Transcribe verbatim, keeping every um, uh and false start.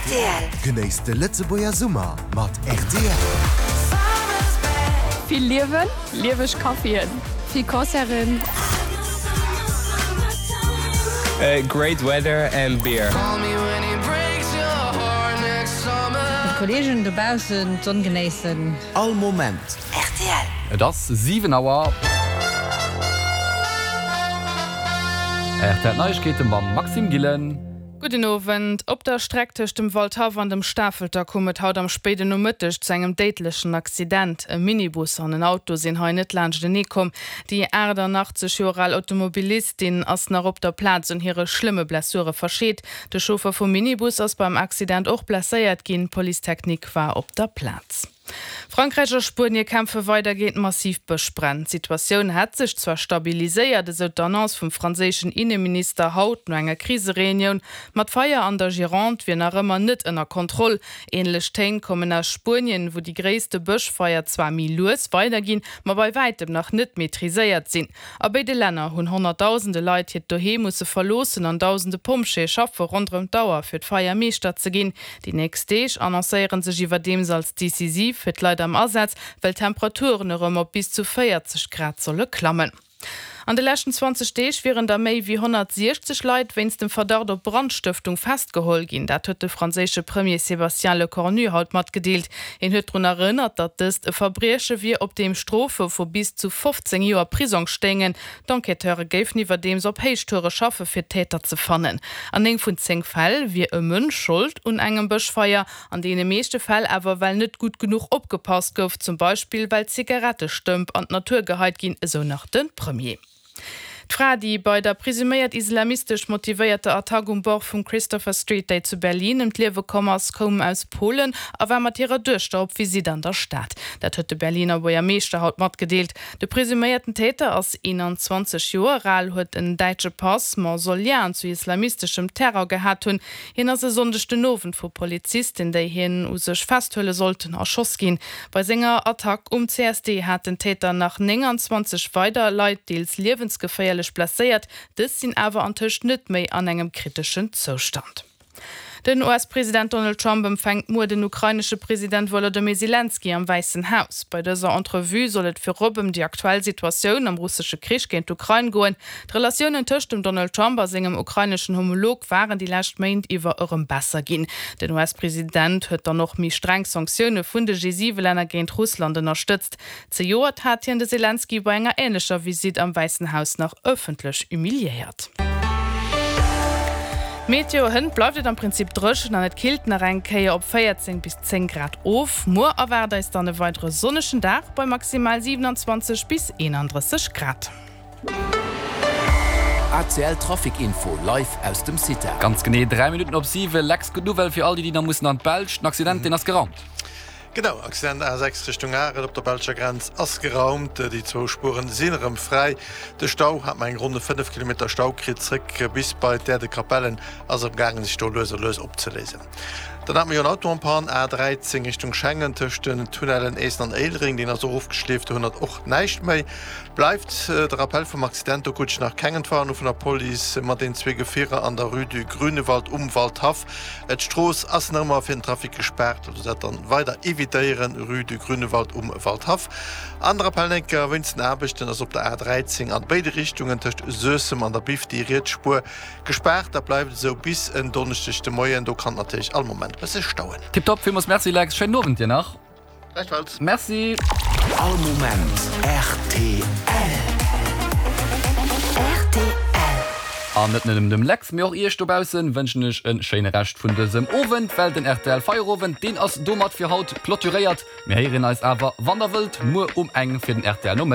Rtl. Genéisst de Lëtzebuerger Summer mat rtl. Vill Liewen, lieweg Caféen, vill Concerten. Great weather and beer. Mat Kolleegen dobaussen d'Sonn genéissen. All Moment. Rtl. Et ass siwen Auer. Rtl Neiegkeete mam Maxime Gillen. Gudden Owend. Op der Streck tëscht dem Waldhaff an dem Stafelter koum et haut am spéiden Nomëtteg zu engem déidlechen Accident. E Minibus an en Auto sinn hei net laanschtenee komm. Déi achtannachtzeg Joer al Automobilistin ass nach op der Plaz un hire schlëmme Blessure verscheet. De Chauffer vum Minibus ass beim Accident och blesséiert ginn. D'Police technique war op der Plaz. Frankräich a Spuenie kämpfe weider géint massiv Bëschbränn. D'Situatioun hätt sech zwar stabiliséiert, esou d'Annonce vum franséischen Inneminister haut no enger Krisereunioun, ma d'Feier an der Gironde wier nach ëmmer net ënner Kontroll. Änlech Téin kommen aus Spuenien, wou déi gréisste Bëschfeier zwar méi lues weiderginn, ma bei wäitem nach net maîtriséiert sinn. A béide Länner hunn honnertdausende Leit hiert Doheem musse verloossen an dausende Pompjeeë schaffe ronderëm d'Auer, fir d'Feier Meeschter ze ginn. Déi nächst Deeg annoncéiere sech iwwerdeems als decisiv fir d'Leit am Asaz, well d'Temperaturen erëm op bis zu véierzeg Grad solle klammen. An de leschten zwanzeg Deeg wieren der méi wéi honnertsiechzeg Leit wéinst dem Verdacht op Brandstëftung festgeholl ginn. Dat huet de franséische Premier Sébastien Lecornu haut matgedeelt. Hien huet drun erënnert, datt dëst e Verbrieche wier, op deem Strofe vu bis zu fofzéng Joer Prisong stéingen. D'Enquêteure géifen iwwerdeems op Héichtoure schaffe fir d'Täter ze fannen. An néng vun zéng Fäll wier e Mënsch Schold un engem Bëschfeier, an deene meeschte Fäll awer well net gutt genuch opgepasst gouf, zum Beispill well Zigarettestëmp an d'Natur geheit ginn, esou nach de Premier. D'Fra, déi bei der presuméiert islamistesch motivéierter Attack um Bord vum Christopher Street Day zu Berlin ëm d'Liewe komm ass, koum aus Polen a war mat hirer Duechter op Visitt an der Stad. Dat huet de Berliner Buergermeeschter haut matgedeelt. De presuméierten Täter ass eenanzwanzeg Joer al, huet en däitsche Pass, ma soll Liaen zu islamisteschem Terror gehat hunn. Hien ass e Sonndeg den Owend vu Polizisten, déi hien u sech festhuele sollten, erschoss ginn. Bei senger Attack um C S D hat den Täter nach nénganzwanzeg weider Leit deels liewensgeféierlech blesséiert. Dës sinn awer antëscht net méi an engem kriteschen Zoustand. Den U S-President Donald Trump empfänkt muer den ukrainesche President Wolodymyr Selenskyj am Wäissen Haus. Bei dëser Entrevue soll et virop ëm déi aktuell Situatioun am russesche Krich géint d'Ukrain goen. D'Relatiounen tëscht dem Donald Trump a sengem ukraineschen Homolog waren déi lescht Méint iwwer erëm besser ginn. Den U S-President huet dann och méi streng Sanktioune vun de G siwe Länner géint Russland ënnerstëtzt. Zejoert hat hien de Selenskyj bei enger änlecher Visitt am Wäissen Haus nach ëffentlech humiliéiert. Meteo, Hënt bleift et am Prinzip dréchen an et killt nach eng Kéier op véierzéng bis zéng Grad of. Muer erwaart eis dann e weidere sonnegen Dag bei maximal siewenanzwanzeg bis eenandrësseg Grad. A C L Trafic Info live aus dem CITA. Ganz genee dräi Minutten op siwen. Lex, gutt Nouvelle fir all déi, déi nach mussen an d'Belsch. Den Accident, deen ass geraumt. Genau, Accident A sechs Richtung Arel op der belscher Grenz ass geraumt. Déi zwou Spueren sinn erëm fräi. De Stau hat mer eng ronne fënnef Kilometer Stau kritt zréck bis bei d'Äerdekapellen, ass am gaangen sech do lues a lues opzeléisen. Dann hat mer jo en Auto en panne, A dräizéng Richtung Schengen tëscht den Tunnellen Eessen an Éilereng, deen ass och ofgeschleeft, do hënnert och näischt méi. Bleift de Rappel vum Accident, do krut ech nach keng Entwarnung vun der Police, mat den zwee Gefierer an der Rue du Grünewald um Waldhaff. D'Strooss ass nach ëmmer fir den Trafic gespaart, also dat dann weider evitéieren, Rue du Grünewald um Waldhaff. An de Rappel enker, Wéinst den Aarbechten ass op der A dräizéng an béide Richtungen tëscht Suessem an der Biff déi riets Spuer gespaart. Dat bleift esou bis en Donneschdeg de Moien. Do kann et natierlech all Moment e bësse stauen. Tiptop, villmools merci Lex, schéinen Owend dir nach. Gläichfalls. Merci. All Moment rtl. Rtl. An net nëmmen dem Lex, mee och iech dobaussen wënschen ech en schéine Rescht vun dësem Owend, well den rtl Feierowend, deen ass domat fir haut clôturéiert. Mir héieren eis awer, wann der wëllt, muer um eng fir den rtl Nomëtten.